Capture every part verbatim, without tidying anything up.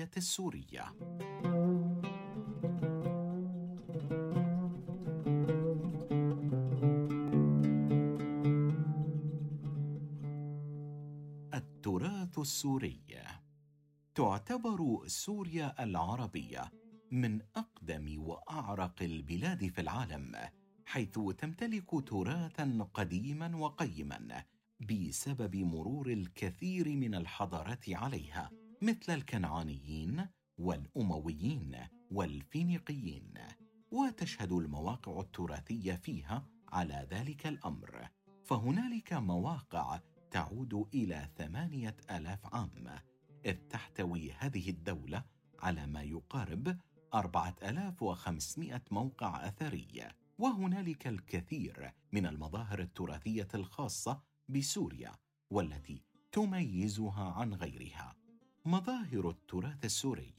التراثية السورية. التراث السوري. تعتبر سوريا العربية من أقدم وأعرق البلاد في العالم، حيث تمتلك تراثاً قديماً وقيماً بسبب مرور الكثير من الحضارات عليها، مثل الكنعانيين والأمويين والفينيقيين، وتشهد المواقع التراثية فيها على ذلك الأمر. فهنالك مواقع تعود إلى ثمانية آلاف عام، إذ تحتوي هذه الدولة على ما يقارب أربعة آلاف وخمسمائة موقع أثري. وهنالك الكثير من المظاهر التراثية الخاصة بسوريا والتي تميزها عن غيرها. مظاهر التراث السوري.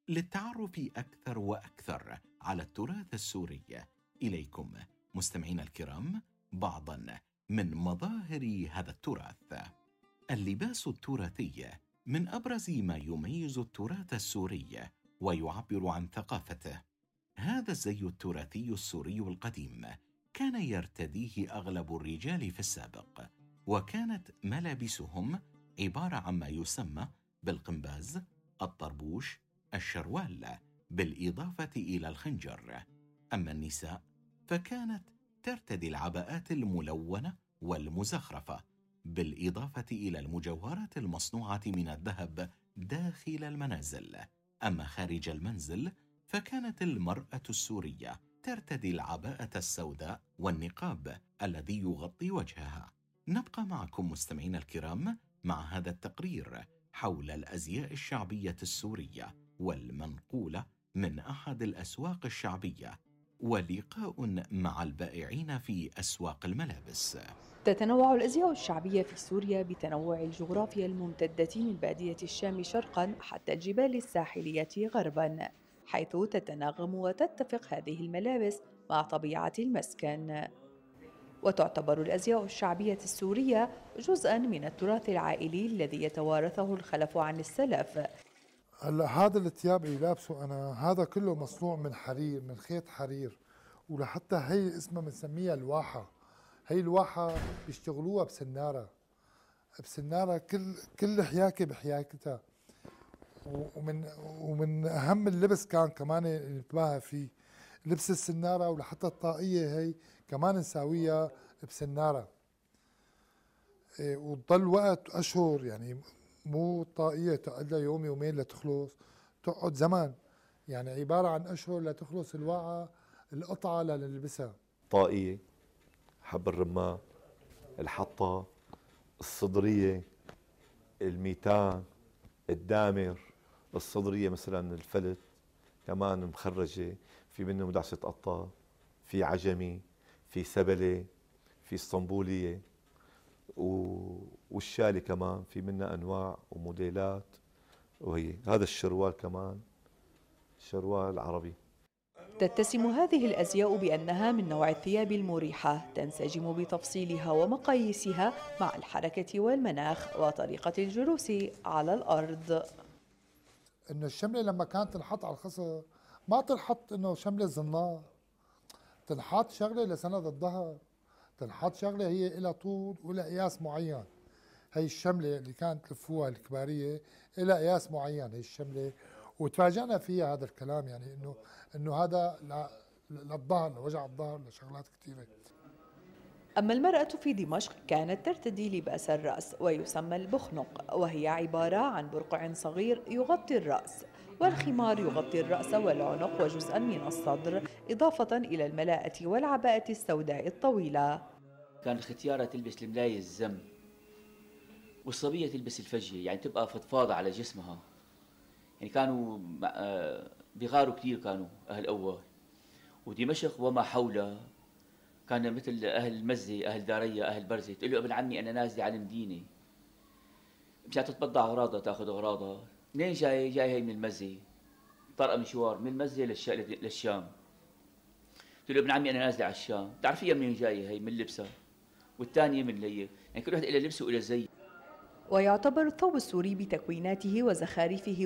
للتعرف أكثر وأكثر على التراث السوري، إليكم مستمعين الكرام بعضاً من مظاهر هذا التراث. اللباس التراثي من أبرز ما يميز التراث السوري ويعبر عن ثقافته. هذا الزي التراثي السوري القديم كان يرتديه أغلب الرجال في السابق، وكانت ملابسهم عبارة عن ما يسمى بالقنباز، الطربوش، الشروال، بالإضافة إلى الخنجر. أما النساء فكانت ترتدي العباءات الملونة والمزخرفة، بالإضافة إلى المجوهرات المصنوعة من الذهب داخل المنازل. أما خارج المنزل فكانت المرأة السورية ترتدي العباءة السوداء والنقاب الذي يغطي وجهها. نبقى معكم مستمعين الكرام مع هذا التقرير حول الأزياء الشعبية السورية والمنقولة من أحد الأسواق الشعبية، ولقاء مع البائعين في أسواق الملابس. تتنوع الأزياء الشعبية في سوريا بتنوع الجغرافيا الممتدة من بادية الشام شرقاً حتى الجبال الساحلية غرباً، حيث تتناغم وتتفق هذه الملابس مع طبيعة المسكن. وتعتبر الأزياء الشعبية السورية جزءاً من التراث العائلي الذي يتوارثه الخلف عن السلف. هلا هذا الثياب اللي لابسه أنا هذا كله مصنوع من حرير، من خيط حرير، ولحتى هي اسمها بنسميها الواحة. هي الواحة بيشتغلوها بسنارة بسنارة كل كل حياكة بحياكتها. ومن ومن أهم اللبس كان كمان نتباهى فيه لبس السنارة، ولحتى الطاقية هي كمان نساويها بسنارة. إيه، وتضل وقت أشهر، يعني مو طاقية تقعد لها يوم يومين لتخلص، تقعد زمان، يعني عبارة عن أشهر لتخلص الواقعة القطعة لنلبسها. طاقية، حب الرمان، الحطة، الصدرية، الميتان، الدامر. الصدرية مثلا الفلت كمان مخرجة، في منه مدعسة قطة، في عجمي، في سبلة، في اسطنبولية، والشالي كمان في منها أنواع وموديلات. وهي هذا الشروال كمان شروال عربي. تتسم هذه الأزياء بأنها من نوع الثياب المريحة، تنسجم بتفصيلها ومقاييسها مع الحركة والمناخ وطريقة الجلوس على الأرض. إنه الشملة لما كانت تنحط على الخصر ما تنحط إنه شملة زنار، تنحط شغلة لسند الظهر، تنحط شغلة هي إلى طول وإلى قياس معين. هي الشملة اللي كانت تلفوها الكبارية إلى قياس معين، هي الشملة. وتفاجأنا فيها هذا الكلام، يعني إنه إنه هذا للظهر، لوجع الظهر، لشغلات كثيرة. أما المرأة في دمشق كانت ترتدي لباس الرأس ويسمى البخنق، وهي عبارة عن برقع صغير يغطي الرأس، والخمار يغطي الرأس والعنق وجزءا من الصدر، إضافة إلى الملاءة والعباءة السوداء الطويلة. كان الختيارة تلبس الملاية الزم، والصبية تلبس الفجية، يعني تبقى فضفاضة على جسمها. يعني كانوا بغاروا كثير كانوا أهل أول، ودمشق وما حولها كان مثل أهل المزة، أهل دارية، أهل برزة. تقول له ابن عمي أنا نازلة على المدينة، مشان تتبضع أغراضها، تأخذ أغراضها. منين جاي؟ جاي هي من المزة، طرقة مشوار من المزة للشام. تقول له ابن عمي أنا نازلة على الشام. تعرفيها منين جاية؟ هي من لبسها، والثانية من ليه. يعني كل واحد إلى لبسه وإلى زي. ويعتبر الثوب السوري بتكويناته وزخارفه